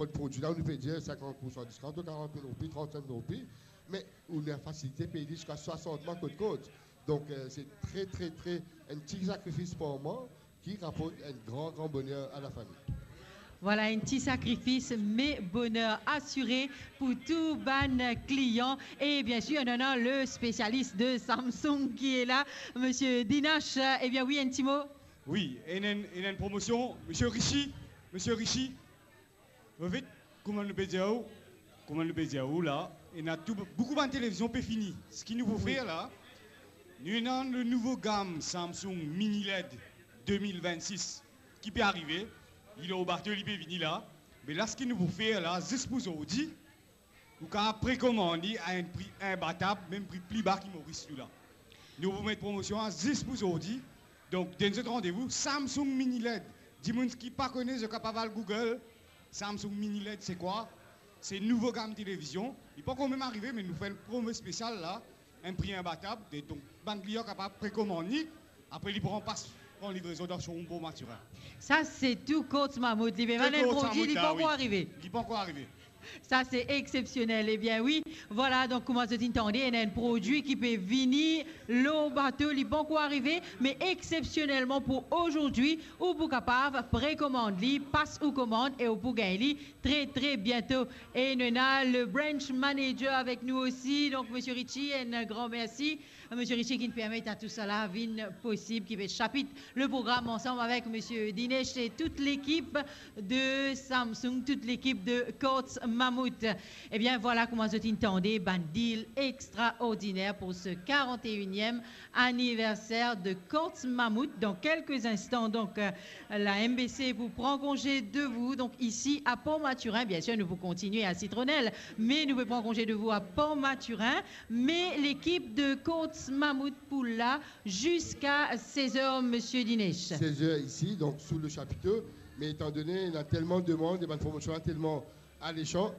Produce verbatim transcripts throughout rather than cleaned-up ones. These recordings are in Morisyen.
bann prodwi la, nou pe dir sinkant pour san discount, karant mil roupi, trant-senk mil roupi, me ou ena fasilite pey li ziska swasant mwa kot kont. Donk, euh, se tre, tre, tre, enn ti sakrifis par mwa ki raport enn gran, gran boner a lafami. Vwala, enn ti sakrifis, me boner asire pou tou bann klian. E biensir, nou ena le spesialis de Samsung ki la la, Misie Dinesh. Ebien wi, enn ti mo. Wi, ena enn, ena enn promosion, Misie Richi, Misie Richi, David, kouma nou pe dir ou, kouma nou pe dir ou la, ena tou, boukou bann televizion pe fini. Seki nou pou fer la, nou ena le nouvo gam Samsung Mini led de mil vennsis ki pe arive, li lor bato, li pe vini la. Me la, seki nou pou fer la, zis pou zordi, ou kapav prekomann li a enn pri inbatab, mem pri pli ba ki Moris nou la. Nou pou met promosion la zis pou zordi. Donk, donn zot randevou, Samsung Mini led. Dimoun ki pa kone, zot kapav al Google, Samsung Mini led, se kwa? Se nouvo gam televizion. Li pankor mem arive, me nou fer enn promo spesial la, enn pri inbatab. E donk, bann klian kapav prekomann li. Apre, li pran pas, pran livrezon dan showroom Port Mathurin. Sa, se tou Courts Mammouth. Li pe vann enn prodwi, li pankor arive. Li pankor arive. Sa, se exepsionel. Ebien wi, vwala, donk, kouma zot inn tande, ena enn prodwi ki pe vini lor bato, li pankor arive, me exepsionelman pou ozordi, ou pou kapav prekomann li, pas ou komann e ou pou gagn li tre, tre biento. E nou ena le branch manager avek nou osi, donk, Misie Richi, enn gran mersi. Misie Richi ki'nn permet a tousala vinn posib, ki pe shapit le program ansam avek Misie Dinesh e tout lekip de Samsung, tout lekip de Courts Mammouth. Ebien, vwala kouma zot inn tande, bann deal extraordiner pour ce quarante et unième anniversaire de Courts Mammouth. Dan kelke instan, donk, euh, la M B C pou pran konze de vou, donk, isi a Port Mathurin. Biensir, nou pou kontigne a Citronelle, me nou pou pran konze de vou a Port Mathurin. Me lekip de Courts Mammouth pou la ziska sez er, Misie Dinesh. Sez er isi, donk, sou le chapito. Me etandone ena telman demann, e bann promosion la telman alesan,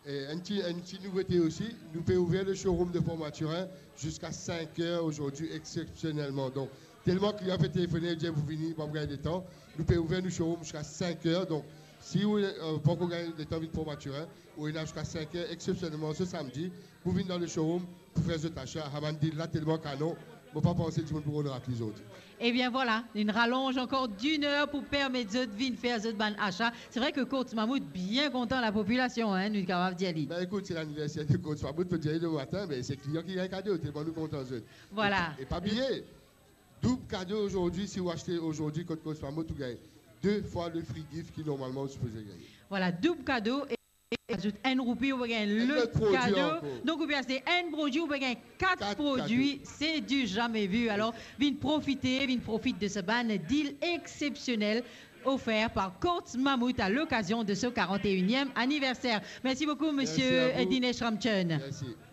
e enn ti, enn ti nouvote osi, nou pe ouver le showroom de Port Mathurin ziska sink er ozordi, exepsionelman. Donk, telman klian pe telefone, dir pou vini, pa pou gagn letan, nou pe ouver nou showroom ziska sink er. Donk, si ou, euh, pankor gagn letan vinn Port Mathurin, ou ena ziska sink er, exepsionelman, se samdi, pou vinn dan le showroom, pou fer zot asa. Sa bann deal la telman kanon, mo pa panse dimoun pou rod rat li zordi. Ebien, vwala, enn ralonz ankor dinn er pou permet zot vinn fer zot bann asa. Se vre ke Courts Mammouth bien kontan lapopilasion, hein, nou kapav dir li. Ben, ekout, se laniverser de Courts Mammouth, mo dir li le matin, me se klian ki gagn kado, telman nou kontan zot. Vwala. E, e pa bliye, doub kado ozordi, si ou aste ozordi kot Courts Mammouth, ou gagn de fwa le free gift ki normalman ou sipoze gagne. Vwala, doub kado. E azout enn roupi, ou pe gagn lot kado. Enn lot prodwi ankor. Donk, ou pe aste enn prodwi, ou pe gagn kat prodwi. Kat kado. C'est du jamais vu. Alor, vinn profite, vinn profit de sa bann deal exepsionel offer par Courts Mammouth à l'occasion de ce quarante et unième anniversaire. Merci beaucoup, Monsieur Dinesh Ramchand. Merci à vous. Merci.